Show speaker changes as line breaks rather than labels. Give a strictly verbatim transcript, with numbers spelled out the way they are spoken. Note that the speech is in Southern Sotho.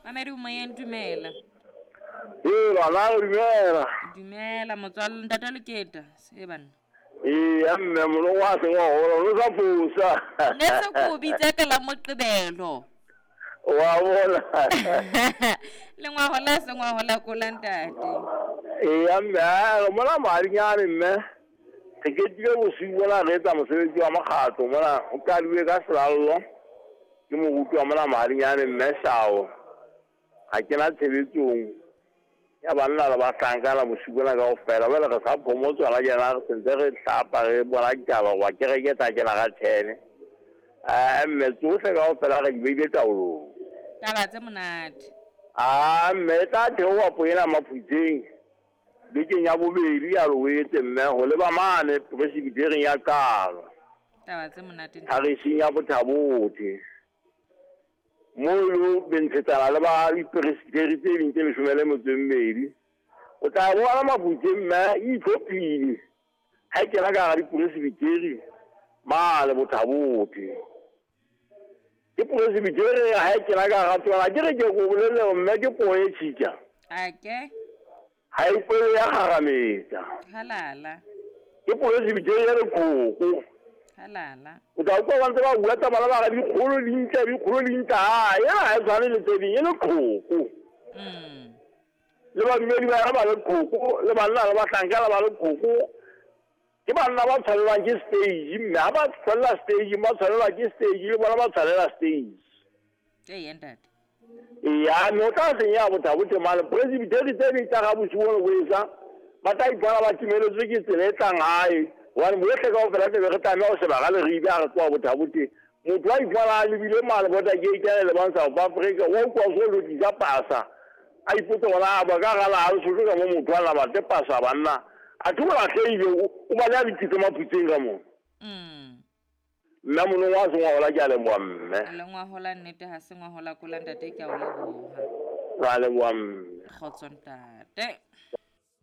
Mamedi o moyeng, dumela.
Ee, bana dumela.
Dumela motswalle ntate Leketa. Se banna.
Ee, mme molongo wa seng wa hola, o sa fosa.
Ne se ko bitsa ka la Moqebelo.
Wa bona.
Le ngwahola se ngwahola ko la ntate.
Ee, mme re mona madinyane mme. Re ketile bosiu bona re etsa mosebetsi wa mokgatlo mona o qadilwe ka selallo. Ke moruti wa mona madinyane mme Shao. Ha kena tshebetsong ya banna le bahlankana bosiu bona kaofela. Jwale re sa phomotswa la jena re sentse re hlapa re bona ditaba hoba kereke e tla kena ka ten. Eh, mme tsohle kaofela re di beile taolong.
Taba tse monate.
Ah, mme e tla theoha poena Maphutseng bekeng ya bobedi ya Loetse mme ho leba mane presbyterieng ya Qalo.
Taba tse monate.
Pharising ya Bothabothe. Mo lo bentshetsana le ba dipresbyteri tse ding tse leshome le metso e mmedi. O tla bona Maphutseng mme e itlhophile. Ha e kena ka hara dipresbyteri mane Bothabothe. Ke presbyteri ha e kena ka hara tsona, ke re ke ko bolelle mme ke poho e tjhitja.
Ake.
Ha e kwele ya kgarametsa.
Halala.
Ke presbyteri ya leqhoko.
Halala.
O tla utlwa ba ntse ba bua taba ba re dikgolo di ntle, dikgolo di ntle. Ha, ena ha e tshwane le tse ding, e leqhoko.
Mm.
Le badumedi ba yona ba leqhoko, le banna le bahlanka ba leqhoko. Ke banna ba tshwanelwang ke stage, mme ha ba tshwanela stage, ba tshwanelwa ke stage, le bona ba tshwanela stage.
Ee, ntate.
Eya, mme o tla senya Bothabothe mane. Presbyteri tse ding tsa ga bosiu bona bo esa, ba tla ipona ba timeletswe ke tsela e tlang hae. Hobane bohle kaofela tlabe re tlameha ho sheba ka leribe ha re tloha Bothabothe. Motho wa ipona a lebile mane border gate ya lebang South Africa, wa utlwa o so lokisa pasa. A ipotse hore a ba ka hara naha Lesotho ka mo motho a na batle pasa banna. Athe o lahlehile, o baleha dikitso Maphutseng ka mona.
Mm.
Mme monong wa sengwahola ke a leboha mme.
Le ngwahola nnete ha se ngwahola kola ntate ke a o leboha.
Ra leboha mme.
Kgotso ntate.